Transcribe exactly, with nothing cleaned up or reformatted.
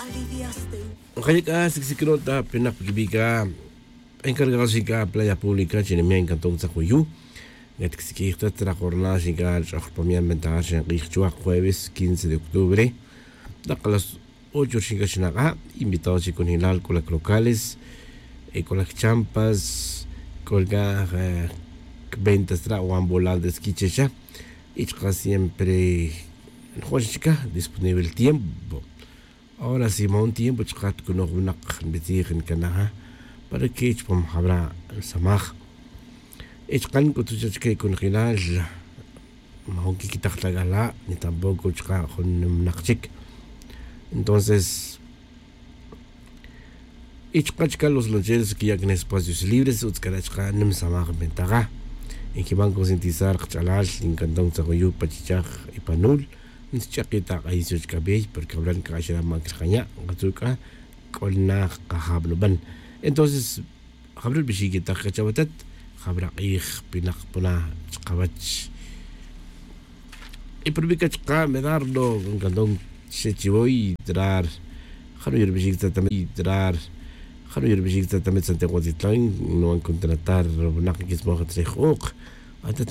Nqaya' c'a sicsicron ta pinak pa quibi' c'a encargado xin c'a playa pública chi nime' ncanton tzak uyu'. Ngatcsiquij ta tzrak jornada xin c'a ch'oj rpamian ventaja xenk'ij chuwa' jueves quince de octubre. Tak las ocho rixin c'a xnak'a' invitado chi cunjelal c'o lac locales, c'o lac champas, c'o lac c'a ventas tra' wan volal de skichexa. Y chka siempre njo'x chica disponible el tiempo. Ahora si ma jun tiempo chka tcunoj winak nbitzij ncanaja para que chupam jabra' samaj. Y chka nc'utuj cha chique conjelal ma jun quiquitaj ta c'ala' ni tampoco chka jun nim winak chic. Entonces y chka chka los lancheros quiya' can espacios libres utz c'ara' chka nim samaj ventaja. Y quiban concientizar kach'alal y ncanton tzak uyu' pa chichaj y pa nul nch'aki' ta k'ayisoch c'abey porque jabra' nc'axra' ma crjanya' nkatzu' c'a c'o na kajab nuban. Entonces jabra' rbixic y tak c'achawatat jabra' k'ij pinak puna chkawach. Y purbi c'a chka medardo ncanton xe chiwoy trar. Jano' yerbixic tzatamit trar. Jano' yerbixic tzatamit santiago tzitlan nuban contratar winak quismoj tzij uk'. Atat